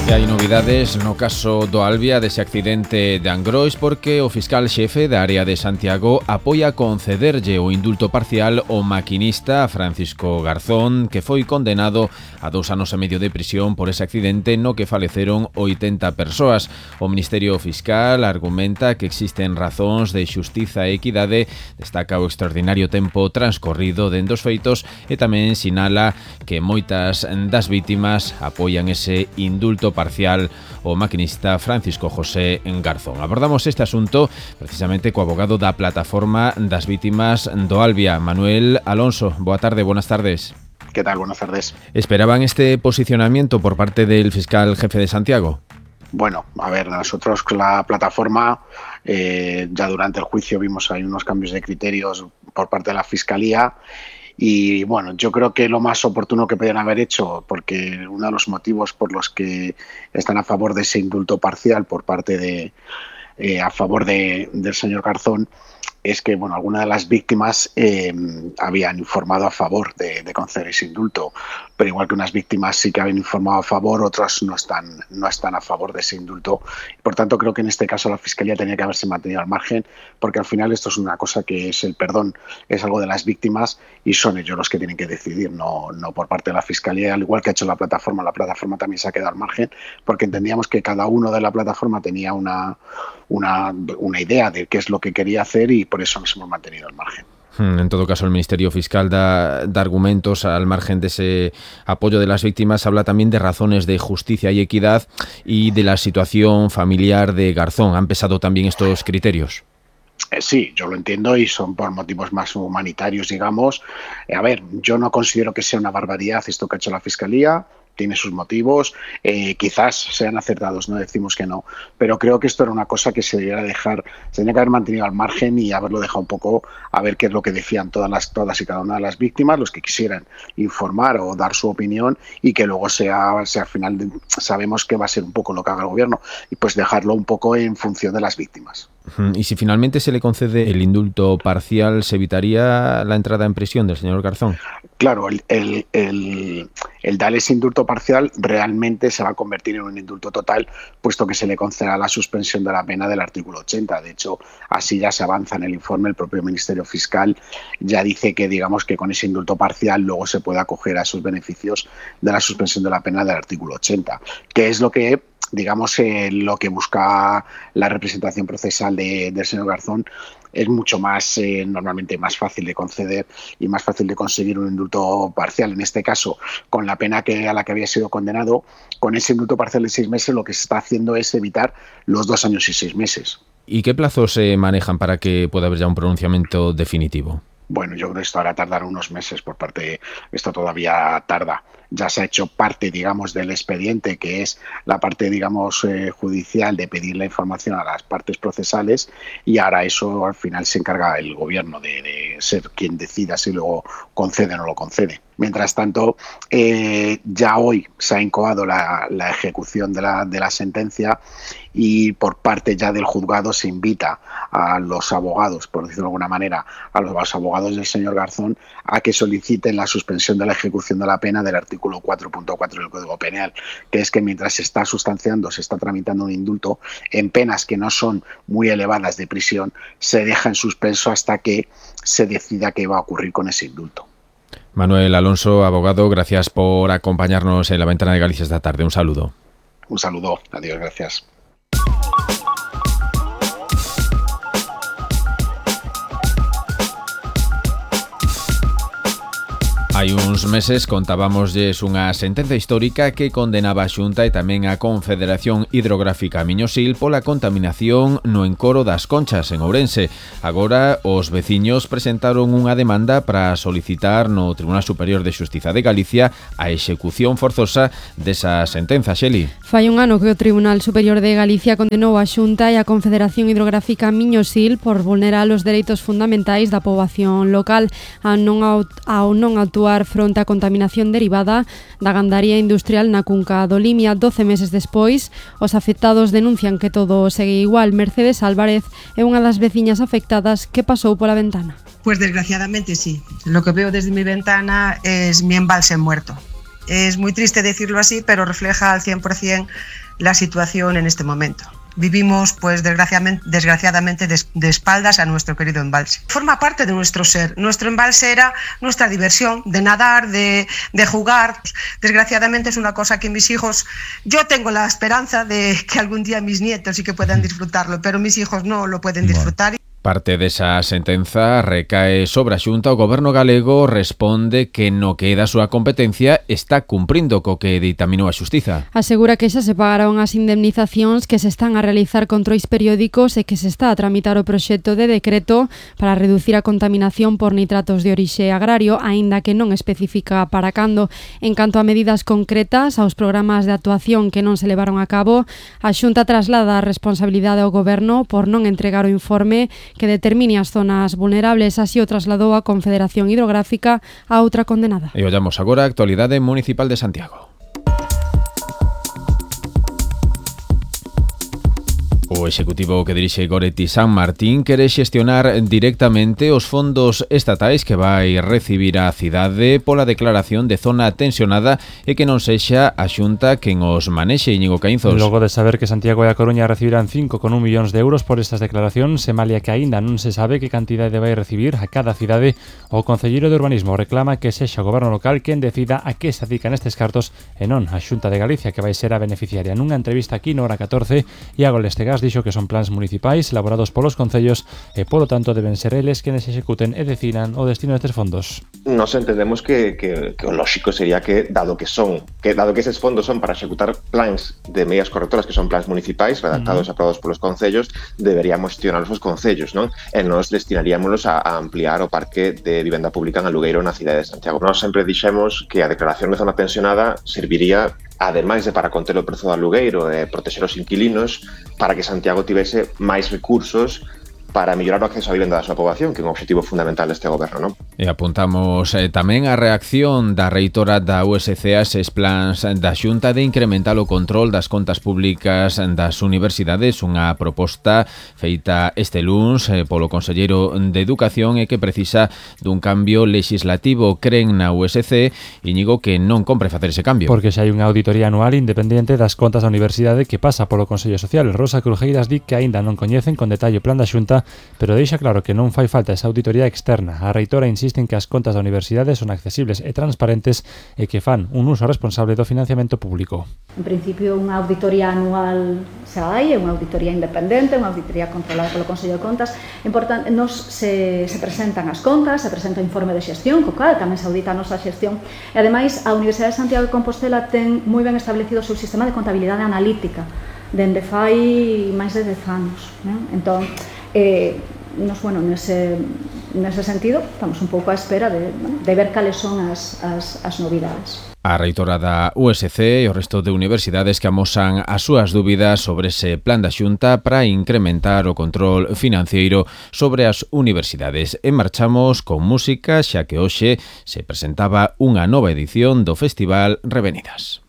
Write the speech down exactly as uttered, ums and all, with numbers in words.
E hai novidades no caso do Albia dese accidente de Angrois porque o fiscal xefe da área de Santiago apoia concederlle o indulto parcial ao maquinista Francisco Garzón, que foi condenado a dous anos e medio de prisión por ese accidente no que faleceron oitenta persoas. O Ministerio Fiscal argumenta que existen razóns de xustiza e equidade, destaca o extraordinario tempo transcorrido dende os feitos e tamén sinala que moitas das vítimas apoian ese indulto parcial o maquinista Francisco José Garzón. Abordamos este asunto precisamente co abogado da Plataforma das Vítimas do Albia, Manuel Alonso. Boa tarde, buenas tardes. ¿Qué tal? Buenas tardes. ¿Esperaban este posicionamiento por parte del fiscal jefe de Santiago? Bueno, a ver, nosotros con la plataforma, eh, ya durante el juicio vimos ahí unos cambios de criterios por parte de la Fiscalía. Y bueno, yo creo que lo más oportuno que podían haber hecho, porque uno de los motivos por los que están a favor de ese indulto parcial por parte de, eh, a favor de, del señor Garzón, es que bueno, algunas de las víctimas eh, habían informado a favor de, de conceder ese indulto, pero igual que unas víctimas sí que habían informado a favor, otras no están, no están a favor de ese indulto. Por tanto, creo que en este caso la Fiscalía tenía que haberse mantenido al margen, porque al final esto es una cosa que es el perdón, es algo de las víctimas y son ellos los que tienen que decidir, no, no por parte de la Fiscalía, al igual que ha hecho la plataforma. La plataforma también se ha quedado al margen, porque entendíamos que cada uno de la plataforma tenía una, una, una idea de qué es lo que quería hacer y por eso nos hemos mantenido al margen. En todo caso, el Ministerio Fiscal da, da argumentos al margen de ese apoyo de las víctimas. Habla también de razones de justicia y equidad y de la situación familiar de Garzón. ¿Han pesado también estos criterios? Eh, sí, yo lo entiendo y son por motivos más humanitarios, digamos. Eh, a ver, yo no considero que sea una barbaridad esto que ha hecho la Fiscalía. Tiene sus motivos, eh, quizás sean acertados, no decimos que no, pero creo que esto era una cosa que se debería dejar, se tenía que haber mantenido al margen y haberlo dejado un poco a ver qué es lo que decían todas las todas y cada una de las víctimas, los que quisieran informar o dar su opinión y que luego sea, sea al final de, sabemos que va a ser un poco lo que haga el gobierno y pues dejarlo un poco en función de las víctimas. Y si finalmente se le concede el indulto parcial, ¿se evitaría la entrada en prisión del señor Garzón? Claro, el, el, el, el dar ese indulto parcial realmente se va a convertir en un indulto total, puesto que se le concederá la suspensión de la pena del artículo ochenta. De hecho, así ya se avanza en el informe. El propio Ministerio Fiscal ya dice que, digamos, que con ese indulto parcial luego se puede acoger a esos beneficios de la suspensión de la pena del artículo ochenta, que es lo que digamos, eh, lo que busca la representación procesal de, del señor Garzón. Es mucho más, eh, normalmente más fácil de conceder y más fácil de conseguir un indulto parcial. En este caso, con la pena que, a la que había sido condenado, con ese indulto parcial de seis meses, lo que se está haciendo es evitar los dos años y seis meses. ¿Y qué plazos se manejan para que pueda haber ya un pronunciamiento definitivo? Bueno, yo creo que esto hará tardar unos meses por parte, esto todavía tarda. Ya se ha hecho parte, digamos, del expediente, que es la parte, digamos, eh, judicial de pedir la información a las partes procesales y ahora eso al final se encarga el gobierno de, de ser quien decida si luego concede o no lo concede. Mientras tanto, eh, ya hoy se ha incoado la, la ejecución de la, de la sentencia y por parte ya del juzgado se invita a los abogados, por decirlo de alguna manera, a los abogados del señor Garzón a que soliciten la suspensión de la ejecución de la pena del artículo cuatro punto cuatro del Código Penal, que es que mientras se está sustanciando, se está tramitando un indulto, en penas que no son muy elevadas de prisión, se deja en suspenso hasta que se decida qué va a ocurrir con ese indulto. Manuel Alonso, abogado, gracias por acompañarnos en La Ventana de Galicia esta tarde. Un saludo. Un saludo. Adiós, gracias. Hai uns meses contábamosles unha sentenza histórica que condenaba a Xunta e tamén a Confederación Hidrográfica Miñosil pola contaminación no encoro das Conchas en Ourense. Agora os veciños presentaron unha demanda para solicitar no Tribunal Superior de Xustiza de Galicia a execución forzosa desa sentenza, Xeli. Fai un ano que o Tribunal Superior de Galicia condenou a Xunta e a Confederación Hidrográfica Miñosil por vulnerar os dereitos fundamentais da poboación local ao non, ao non actuar fronte á contaminación derivada da gandaría industrial na cunca do Limia. doce meses despois, os afectados denuncian que todo segue igual. Mercedes Álvarez é unha das veciñas afectadas que pasou pola ventana. Pues desgraciadamente sí. Lo que veo desde mi ventana es mi embalse muerto. Es muy triste decirlo así, pero refleja al cien por ciento la situación en este momento. Vivimos, pues desgraciadamente, desgraciadamente de, de espaldas a nuestro querido embalse. Forma parte de nuestro ser. Nuestro embalse era nuestra diversión, de nadar, de, de jugar. Desgraciadamente es una cosa que mis hijos, yo tengo la esperanza de que algún día mis nietos sí que puedan disfrutarlo, pero mis hijos no lo pueden disfrutar. Parte desa sentenza recae sobre a Xunta. O Goberno galego responde que no que da a súa competencia está cumprindo co que ditaminou a Xustiza. Asegura que xa se pagaron as indemnizacións, que se están a realizar controis periódicos e que se está a tramitar o proxecto de decreto para reducir a contaminación por nitratos de orixe agrario, aínda que non especifica para cando. En canto a medidas concretas aos programas de actuación que non se levaron a cabo, a Xunta traslada a responsabilidade ao Goberno por non entregar o informe que determine as zonas vulnerables. Así o trasladou a Confederación Hidrográfica a outra condenada. E ollamos agora a actualidade municipal de Santiago. O executivo que dirixe Goretti San Martín quere xestionar directamente os fondos estatais que vai recibir a cidade pola declaración de zona tensionada e que non sexa a Xunta quen os manexe. Íñigo Caínzos. Logo de saber que Santiago e a Coruña recibirán cinco coma un millóns de euros por estas declaracións, se malia que aínda non se sabe que cantidade vai recibir a cada cidade, o Concelleiro de Urbanismo reclama que sexa o Goberno local quen decida a que se adican estes cartos e non a Xunta de Galicia, que vai ser a beneficiaria. Nunha entrevista aquí no Hora catorce, Iago Lestegas dixo que son plans municipais elaborados polos concellos e, polo tanto, deben ser eles quenes executen e decidan o destino destes fondos. Nos entendemos que, que, que o lógico sería que, dado que son, que dado que eses fondos son para executar plans de medidas correctoras, que son plans municipais redactados e uh-huh. aprobados polos concellos, deberíamos gestionarlos os concellos, non? E nos destinaríamos a, a ampliar o parque de vivenda pública en alugueiro na cidade de Santiago. Nós sempre dixemos que a declaración de zona tensionada serviría, ademais de para conter o prezo do alugueiro e protexer os inquilinos, para que Santiago tivese máis recursos para mellorar o acceso á vivenda da súa poboación, que é un obxectivo fundamental deste goberno, non? E apuntamos eh, tamén a reacción da reitora da U S C a eses plans da Xunta de incrementar o control das contas públicas das universidades, unha proposta feita este luns eh, polo Conselleiro de Educación e que precisa dun cambio legislativo. Creen na U S C, Íñigo, que non compre facer ese cambio. Porque xa hai unha auditoría anual independente das contas da universidade que pasa polo Consello Social. Rosa Crujeiras di que aínda non coñecen con detalle o plan da Xunta, pero deixa claro que non fai falta esa auditoría externa. A reitora insiste en que as contas da universidade son accesibles e transparentes e que fan un uso responsable do financiamento público. En principio, unha auditoría anual xa hai, é unha auditoría independente, unha auditoría controlada polo Consello de Contas. Importante, nos se, se presentan as contas, se presenta o informe de xestión, co cal tamén se audita a nosa xestión. E ademais, a Universidade de Santiago de Compostela ten moi ben establecido o seu sistema de contabilidade analítica, dende fai máis de dez anos. Né? Entón, Eh, nos, bueno, nese, nese sentido estamos un pouco á espera de, de ver cales son as, as, as novidades. A reitora da U S C e o resto de universidades que amosan as súas dúbidas sobre ese plan da Xunta para incrementar o control financeiro sobre as universidades. E marchamos con música, xa que hoxe se presentaba unha nova edición do Festival Revenidas.